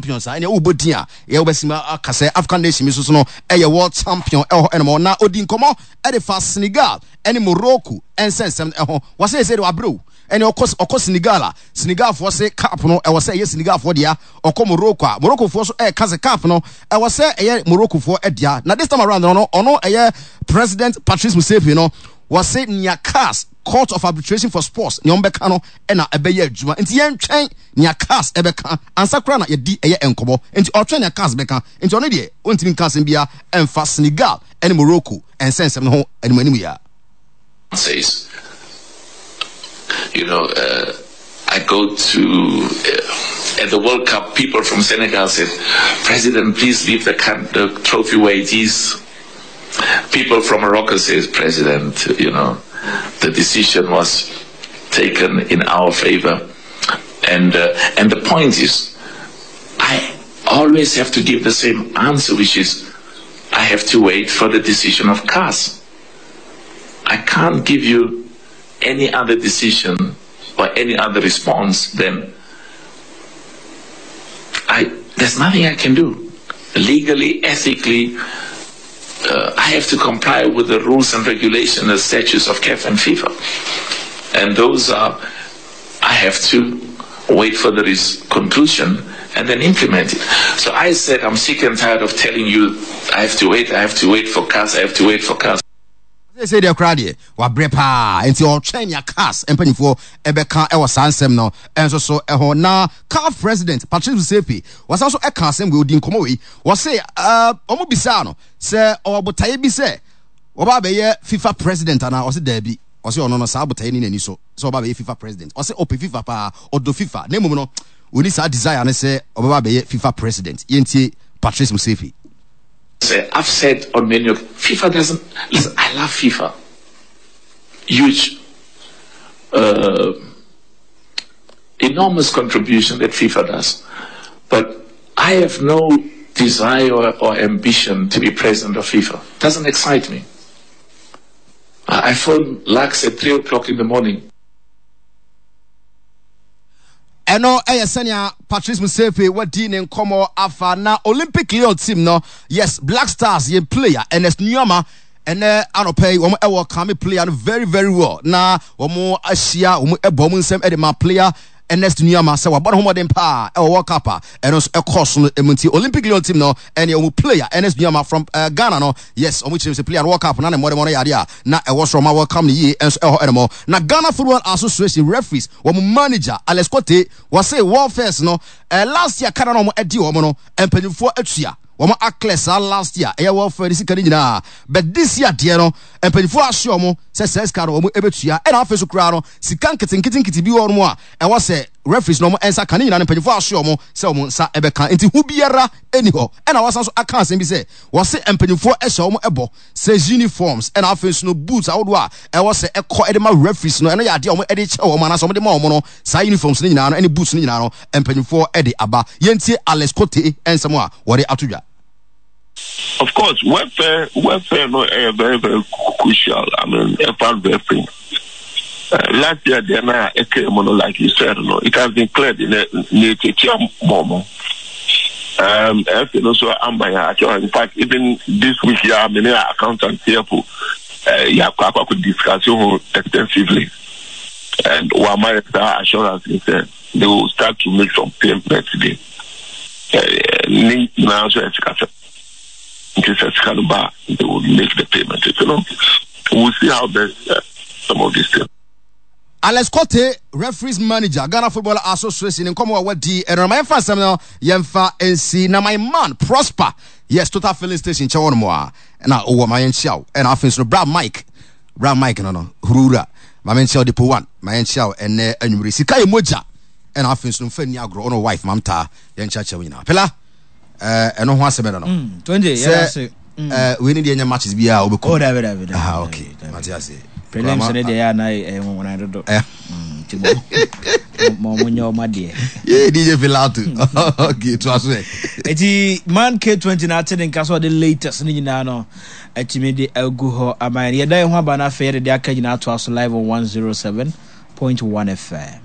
champions a ɛnea wobɔ din a yɛ wobɛsim aka sɛ African nation bi soso no ɛyɛ world champion ɛwɔ hɔ ɛnom. Na odi nkɔmɔ ɛde fa Senegal ɛne Morocco ɛnsɛnsɛm ɛho. Wɔsɛ sɛ de wabrɛw ɛne ɔkɔ Senegal a, Senegalfoɔ se cup no ɛwɔ sɛ ɛyɛ Senegalfoɔ dea. Ɔkɔ Morocco a, Moroccofoɔ so ɛreka sɛ cup no ɛwɔ sɛ ɛyɛ Moroccofoɔ dea. Na this time around no, ɔno ɛyɛ President Patrice Motsepe no, wɔse nea CAS, Court of Arbitration for Sports, nea wɔbɛka no ɛna ɛbɛyɛ adwuma. Nti yɛntwɛn nea CAS ɛbɛka ansa koraa na yɛdi ɛyɛ nkɔmmɔ. Nti ɔtwɛn nea CAS bɛka. Nti ɔno deɛ ɔntumi nka asɛm biara ɛmfa Senegal ɛne Morocco ɛnsɛnsɛm no ho anim anim yi ara. Says, you know, I go to at the World Cup, people from Senegal said, President, please leave the, the trophy where it is. People from Morocco says, President, you know, the decision was taken in our favor. And, and the point is, I always have to give the same answer, which is, I have to wait for the decision of CAS. I can't give you any other decision or any other response than I. There's nothing I can do. Legally, ethically, I have to comply with the rules and regulations and statutes of CAF and FIFA. And those are, I have to wait for the conclusion and then implement it. So I said, I'm sick and tired of telling you, I have to wait, I have to wait for CAS, I have to wait for CAS. Sɛ deɛ koraa deɛ wabrɛ paa, nti ɔtwɛn nea CAS mpanyinfoɔ ɛbɛka ɛwɔ saa nsɛm no ɛnso so ɛho. Na CAF president Patrice Motsepe wɔsan so ɛka asɛm wei, odi nkɔmɔ wei, wɔse wɔn bisaa no sɛ ɔwɔ botaeɛ bi sɛ wɔba abɛyɛ FIFA president anaa, ɔse daabi, ɔse ɔno no saa botaeɛ ni n'ani so sɛ ɔba abɛyɛ FIFA president. Ɔse ɔpɛ FIFA paa, ɔdɔ FIFA, na mmom no ɔni saa desire no sɛ ɔbɛba abɛyɛ FIFA president. Yɛntie Patrice Motsepe. Say, I've said on many of FIFA doesn't listen. I love FIFA. Huge, enormous contribution that FIFA does, but I have no desire or ambition to be president of FIFA. Doesn't excite me. I phone Lux at 3 o'clock in the morning. Ɛno ɛyɛ sɛnea Patrice Motsepe wadi ne nkɔmmɔ afa. Na Olympic Lyon team no, yes, Black Stars yɛn player Ernest Nuamah, ɛnɛ anɔpɛ yi wɔn ɛwɔ kame player no very very well, na wɔn ahyia, wɔn ɛbɔ wɔn nsɛm ɛde ma player Ernest Nuamah sɛ wabɔ ne ho mmɔden paa ɛwɔ World Cup a ɛno nso ɛkɔɔ so no emu. Nti Olympic Lyon team no ɛne wɔn player Ernest Nuamah from Ghana no, yes, wɔn kyerɛ sɛ player no World Cup na ne mmɔden no yɛ adeɛ a na ɛwɔ soro ma welcome no yie nso ɛwɔ hɔ ɛnum. Na Ghana Football Association referees wɔn manager Alex Kotey wɔse World First no last year kada na wɔn ɛdi wɔn no mpanyinfoɔ atua wɔn aclear saa last year ɛyɛ welfare ne sika no nyinaa, but this year deɛ no mpanyinfoɔ ahyɛ wɔn sɛ sɛ sika no wɔn ɛbɛtua. Ɛna afei so koraa no sika nketenkete bi wɔ wɔn a ɛwɔ sɛ referees no wɔn nsa ka ne nyinaa no, mpanyinfoɔ ahyɛ wɔn sɛ wɔn nsa ɛbɛka, nti ho biara ɛni hɔ. Ɛna wɔsan so aka asɛm bi sɛ wɔse mpanyinfoɔ ɛhyɛ wɔn ɛbɔ sɛ uniforms ɛna afei nso no boots ahodoɔ a ɛwɔ sɛ ɛkɔ ɛde ma referees no, ɛno yɛ adeɛ a wɔn ɛde kyɛ wɔn anaasɛ wɔn de ma wɔn no, saa uniforms no nyinaa no ɛne boots no nyinaa no mpanyinfoɔ ɛde aba. Yɛntie Alex Kotey nsɛm a wɔde ato dwa. Of course, welfare no very very crucial. I mean, ɛfa referee. Last year, deɛ na ɛka mu no, like you said, no, it has been cleared in the mɔmɔ. FA no so ama yɛn actually. In fact, even this week, yeah, me ne accountant here for yɛakɔ akɔ discuss ho extensively, and wama yɛ saa assurance sɛ they will start to make some payments today. Ne nyinaa nso yɛ sika sɛ nti sɛ sika no ba, they will make the payment. We'll see how best some of these things. Alex Kotey, referees manager, Ghana Football Association, nkɔmɔ a wadi ɛno ma yɛmfa nsɛm no yɛmfa nsi. Na my man Prosper, yes, Total Filling Station kyɛ wɔn mu a na ɔwɔ ma yɛnkyia wo. Ɛna afei nso no bra Mike, bra Mike no huruwura ma menkyia wo, Depo One ma yɛnkyia wo ɛnɛ anwummere, sika yɛ mogya. Ɛna afei nso no mfa nni agorɔ, ɔno wife mamtaa yɛnkyerɛkyerɛ wo nyinaa pela ɛno ho asɛm ɛno no sɛ wei ne deɛ nyɛ matches biara wobɛkɔ. Oh, dabi dabi dabi. Ah, okay, mate ase. Prelims ne deɛ yɛ ana ɛyɛ nwonwona dodo. Nti mo mo nyɛ ɔma deɛ. Yee DJ Filato. Okay, to aso ɛ. Eti man K20 na ate ne nka so ɔde latest ne nyinaa no atumi de agu hɔ ama yɛn. Yɛda yɛn ho aba no afei yɛde de aka nyinaa to aso live on 107.1 FM.